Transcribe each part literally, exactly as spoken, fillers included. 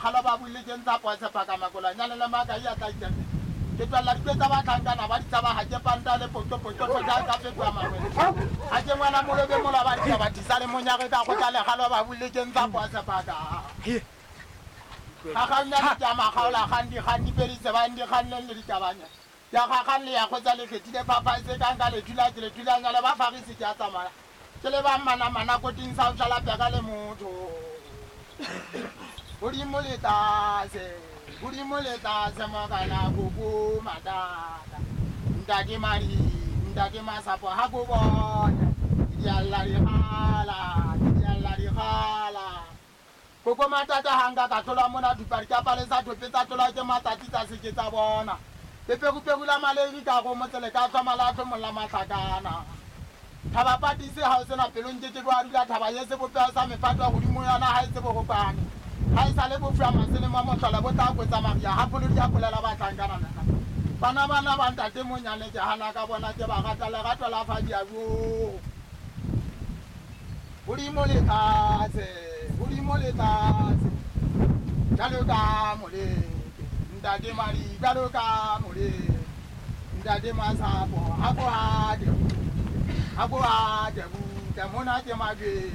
Kgalo ba buile ke ntsa poa sephaka makolanyane le maka ya tla ikeme. Ke tswella dipe tsa batlhankana ba ditshaba ha ke panta le poto poto poto ka fetoha mangwele. Ha ke ngwana molobe mola ba ditshaba tisa le monyare ka kgotla le kgalo ba buile ke ntsa poa sephaka. Ga gaunyane ke a makgaola kgang dikgang di fedise ba dikgang le ditabanya. Ya ga le ya kgotsa le kgethile phaphaise ka nka le thula ke le thulanya le ba farisi ke a tsamaya. Ke le ba mana mana koting sa o peka le motho. Godimo le tlase, godimo le tlase mokana koko matata. Ntate madi, ntate masapo ha ko bona. Di alla di gala, di alla di gala. Koko matata ha nka ka tlola mona dupari ka palesa thope tsa tlola ke matsatsi tsa se ke tsa bona. Leperuperu la maleri ka go motsele ka tlhoma la tlhomolla matlakana. Thaba patise ha o sena pelong ke ke wa dula thaba ye sebopeho sa mepato godimo yona ha e tsebo go pane. Ha e sale bofua masele mo motlhola bo tla kwetsa maria ha pholo di a polela batlankana nna. Bana bana ba ntate monyane ke hana ka bona ke ba rata lerato la fa di a bo. Godimo le tlase, godimo le tlase. Jalo ka moleke, ntate madi jalo ka moleke. Ntate masapo ha ko ha de. Ha ko ha de buta mona ke majwe.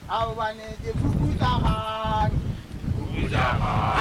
Ao bane ke fukutsa gane. Fukutsa gane.